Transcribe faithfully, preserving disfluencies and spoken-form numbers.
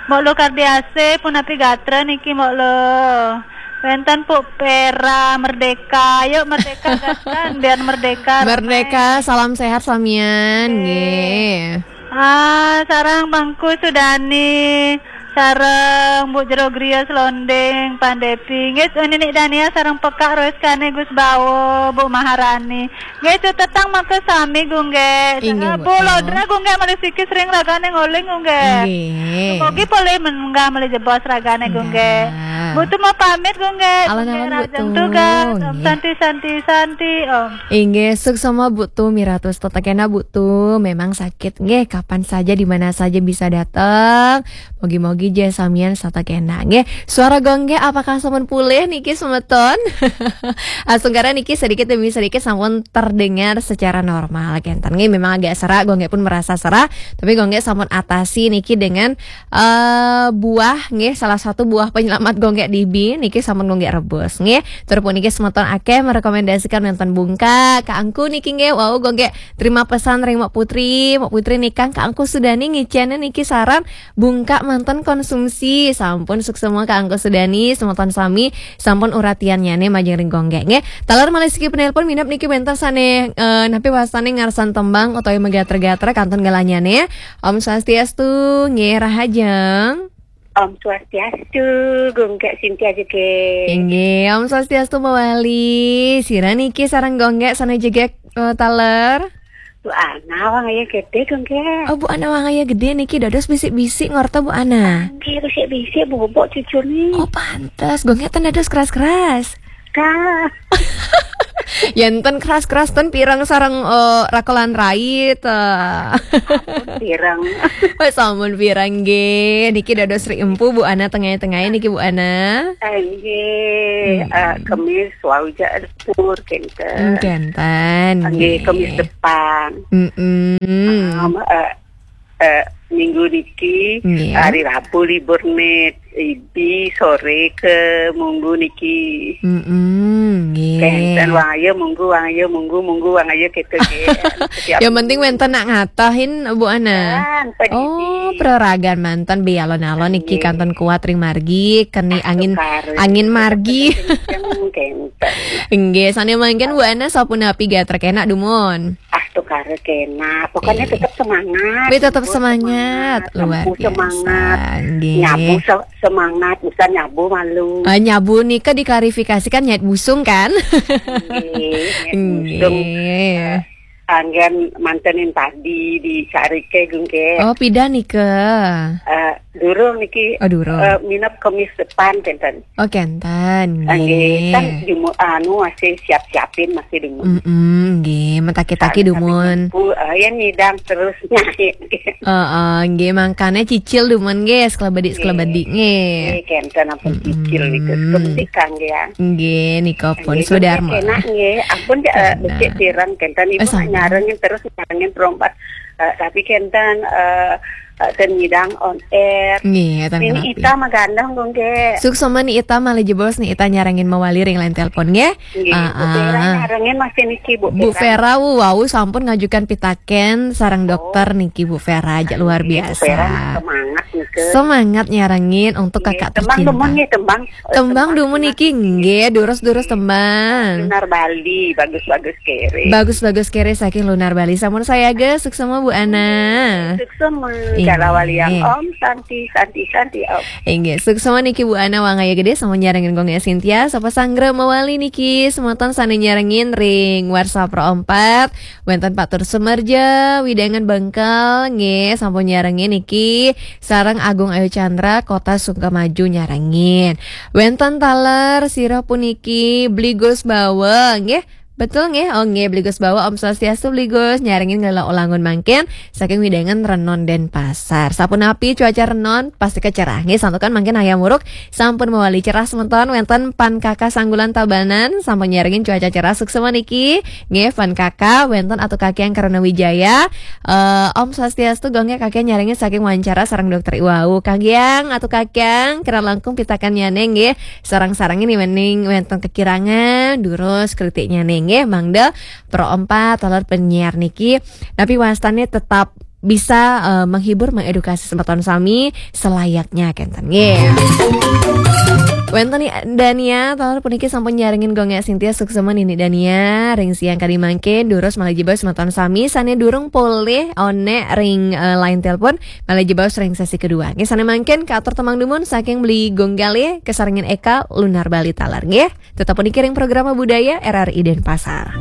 Mbok Lo Kardiase, punapi gatra niki, Mbok Lo? Wenten Puk Pera, Merdeka. Yuk, Merdeka, gatra, biar Merdeka. Merdeka, salam sehat samian, nggih. Ah, sareng Bangku Sudani, sareng Bu Jero Griya Selonding, Pandepi. Nggih, Ninik Dania, sareng Pekak Roiskane Gus Bawo, Bu Maharani. Nggih, cutetang maka sami, Gung Gek. Inggih, Bu Lodra, Gung Gek, malih siki sering ragane ngoling, Gung Gek. Nggih. Mugi polih menggah malih jebos ragane, Gung Gek. Bu Tu mau pamit, Gung Gek. Alon-alon, Bu Tu. Tugas, Om. Nggih. Santi, Santi, Santi, Om. Inggih, suksma Bu Tu, miratus. Tetep kena, Bu Tu. Memang sakit, nggih, kapan saja, di mana saja bisa datang. Mogi-mogi ja samian setata kena, nggih. Suara Gung Gek apakah sampun pulih niki, semeton? Asungkara niki sedikit demi sedikit sampun terdengar secara normal, kenten. Nggih, memang agak serak, Gung Gek pun merasa serak, tapi Gung Gek sampun atasi niki dengan, eh, buah, nggih, salah satu buah penyelamat Gung Gek dibi niki sampun Gung Gek rebus, nggih. Tur puniki semeton akeh merekomendasikan wonten bungkak, kaangku niki, nggih, wau Gung Gek terima pesan ring Mbok Putri, Mbok Putri nikang kaangku Sudani ngicene niki saran bungkak manten konsumsi. Sampun suksma kaangku Sudani, semeton sami sampun uratiannyane majeng ring Gung Gek, nggih. Taler malih siki penelpon minab niki wenten sane, eh, napi wastane ngarsan tembang utawi megater-gater kantun galanyane. Om Swastiastu, nggih, rahajeng. Om Swastiastu, Gung Gek Sintia jegeg. Inggih, Om Swastiastu mawali. Sira niki sareng Gung Gek sane jegeg, eh, taler? Bu Ana Wangaya Gede, Gung Gek. Oh, Bu Ana Wangaya Gede niki dados bisik-bisik ngorta, Bu Ana. Nggih, bisik-bisik bobok cucune. Oh, pantes. Gung Gek ten dados keras-keras. Kah. Yen ten keras-keras ten pirang sareng, eh, rakelan rait, eh. Pirang. Wes sampun pirang nggih. Niki dados ri empu, Bu Ana, tengah-tengah niki, Bu Ana. Eh, nggih, eh, Kemis wau ja pur kenten. Hmm, kenten, nggih, nggih. Kemis depan. Mm-mm. Em, eh, eh, minggu niki, nggih, hari Rabu libur nit, ibi sore ke minggu niki. Mm-mm, nggih. Kenten, Wangaya minggu, Wangaya minggu, minggu Wangaya gitu, nggih. Setiap minggu. Yang penting wenten nak ngatahin, Bu Ana. Kan, pedidi. Oh, praragan manten bialon-alon niki, nggih, kanten kuat ring margi, keni angin, angin margi. Kenceng, kenten. Nggih, sane mangkin Bu Ana sapunapi gatra kena dumun? Ah, tukara kena. Pokoknya tetap semangat. Wih, tetap semangat. Luar biasa. Nyabu semangat. Nggih. Nyabu se-, semangat, bukan nyabu malu. Ah, nyabu nika diklarifikasikan nyait busung, kan? Nggih, nyait busung. Nggih. Eh, anggen mantenin padi di Sarike, Gung Gek. Oh, pidan nika? Eh, durung niki. Oh, durung. Eh, minap Kemis depan, kenten. Oh, kenten, nggih. Nggih, kan jumu-, anu, masih siap-siapin, masih dumun. Mm-mm, nggih, mentaki-taki dumun. Tapi nyapu, eh, ya nyidang terus nyai. Heeh, nggih, mangkane cicil dumun, nggih, sekelebedik-sekelebedik, nggih. Nggih, kenten ampun cicil niku. Mm-mm. Sekebedik, Kang, ya. Nggih, nika pun. Nggih, sudar, Gung Gek, enak, nggih. Ampun, ya, eh, becik pirang, kenten. Ibu nyarengin terus, nyarengin perompat. Eh, tapi kenten, eh, eh, ten nyidang on air. Nggih, ten. Ini kenapi. Ita magandeng, Gung Gek. Suksma Ni Ita, malih jebos Ni Ita nyarengin mawali ring line telepon, nggih. Nggih, Bu Vera nyarengin masih niki, Bu Vera. Bu Vera, wau sampun ngajukan pitaken sareng dokter niki, Bu Vera, aja luar biasa. Nggih, Bu Vera semangat nika. Semangat nyarengin untuk kakak tercinta. Nggih, tembang dumun nggih, tembang. Tembang dumun niki, nggih, durus-durus tembang. Lunar Bali, bagus-bagus kere. Bagus-bagus kere saking Lunar Bali. Sampun sayaga, suksma Bu Ana. Suksma, nggih. Kala waliang Om, Santi, Santi, Santi, Om. Inggih, suksma niki Bu Ana, Wangaya Gede, sampun nyarengin Gung Gek Sintia, sapa sanggra mawali niki, semeton sane nyarengin ring Warsa Pro empat, wenten Pak Tur Sumerja, Widangan Bengkel, nggih, sampun nyarengin niki, sareng Agung Ayu Chandra, Kota Sukamaju nyarengin. Wenten taler sira puniki Bli Gus Bawa, nggih. Betul nggih? Oh nggih, Bli Gus Bawa, Om Swastiastu Bli Gus. Nyarengin Nglela Ulangun mangkin saking Widangan Renon Denpasar. Sapunapi cuaca Renon? Pasti kecerah. Nggih, santukan mangkin ayam uruk sampun mawali cerah semeton, wenten Pan Kaka Sanggulan Tabanan sampun nyarengin cuaca cerah suksma niki. Nggih, Pan Kaka, wenten Atu Kakiang Karana Wijaya. Eh, Om Swastiastu, Gung Gek, Kakiang nyarengin saking wawancara sareng dokter iwau. Kakiang, Atu Kakiang, kirang langkung pitakennyane nggih. Sareng-sareng ini wening wenten kekirangan, durus kritiknyane nggih, mangda Pro empat, taler penyiar niki. Napi wastane tetap bisa eh, menghibur, mengedukasi semeton sami selayaknya kenten nggih. Wenten Dania, taler puniki sampun nyarengin Gung Sintia, suksman ini Dania ring siang kadi mangkin, durus malih jebos semeton sami sane durung polih onek ring eh, line telepon, malih jebos ring sesi kedua. Nggih, sane mangkin katur temang dumun saking Beli Gung Galih, kesarengin Eka Lunar Bali taler nggih. Tetap puniki ring programa budaya R R I Denpasar.